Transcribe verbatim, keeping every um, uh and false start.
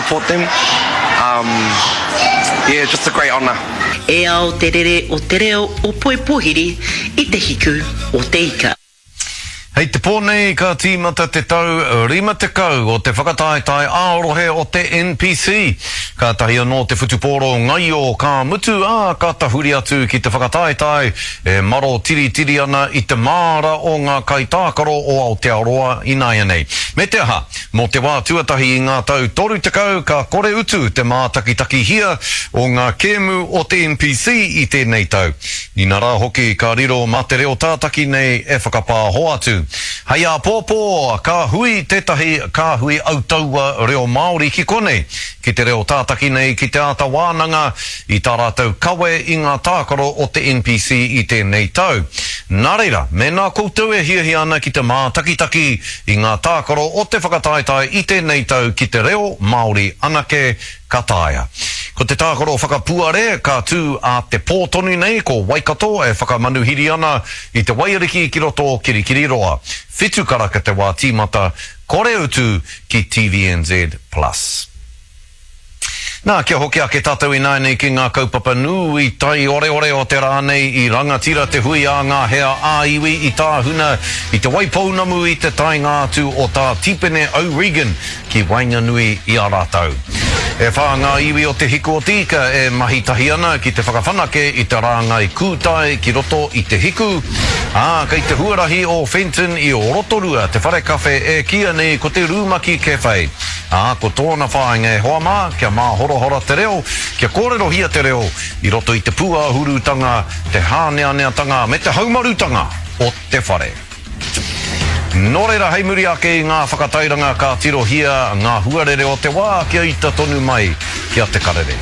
support them. Um, yeah, just a great honour. E ao te rere o te reo o Poipohiri i te hiku o te ika. Hei te pō nei ka tīmata te tau rima tekau o te whakataetae ā-rohe o te N P C. Kātahi anō te whutupōro ngaio ka mutu, ā, ka tahuri atu ki te whakataetae e maro tiritiri ana i te māra o ngā kaitākaro o Aotearoa ināianei. Me te aha, mō te wā tuatahi i ngā tau toru tekau ka kore utu te mātakitakihia o ngā kēmu o te N P C i tēnei tau. Inarā hoki ka riro mā te reo tātaki nei e whakapāho atu. Hei āpōpō ka hui tētahi kāhui autaua reo Māori ki konei, ki te reo tātaki nei ki te āta wānanga i tā rātou kawe i ngā tākaro o te N P C i tēnei tau. Nā reira, mēnā koutou e hiahia ana ki te mātakitaki i ngā tākaro o te whakataetae i tēnei tau ki te reo Māori anake, ka taea. Ko te tākaro whakapuare ka tū a te pō tonu nei, ko Waikato e whakamanuhiri ana i te Waiariki ki roto o Kirikiriroa. Whitu karaka te wā tīmata, kore utu ki T V N Z Plus. Nā, kia hoki ake tātou ināianei ki ngā kaupapa nui taioreore o te rā nei. I rangatira te hui a ngā hea ā-iwi i Tāhuna i Te Waipounamu i te taenga atu o tā Tipene O'Regan ki waenganui i a rātou. E whā ngā iwi o te Hiku o te Ika e mahi tahi ana ki te whakawhanake i te rāngai kūtai ki roto i te hiku, ā, kei te huarahi o Fenton i Rotorua te whare kawhe e kīia nei ko te Rumaki Cafe. Ā, ko tōna whāinga, e hoa mā, kia māhorahora te reo, kia kōrerohia te reo i roto i te pūāhurutanga, te hāneaneatanga me te haumarutanga o te whare. Nō reira, hei muri ake i ngā whakatairanga ka tirohia ngā huarere o te wā. Kia ita tonu mai ki a Te Karere.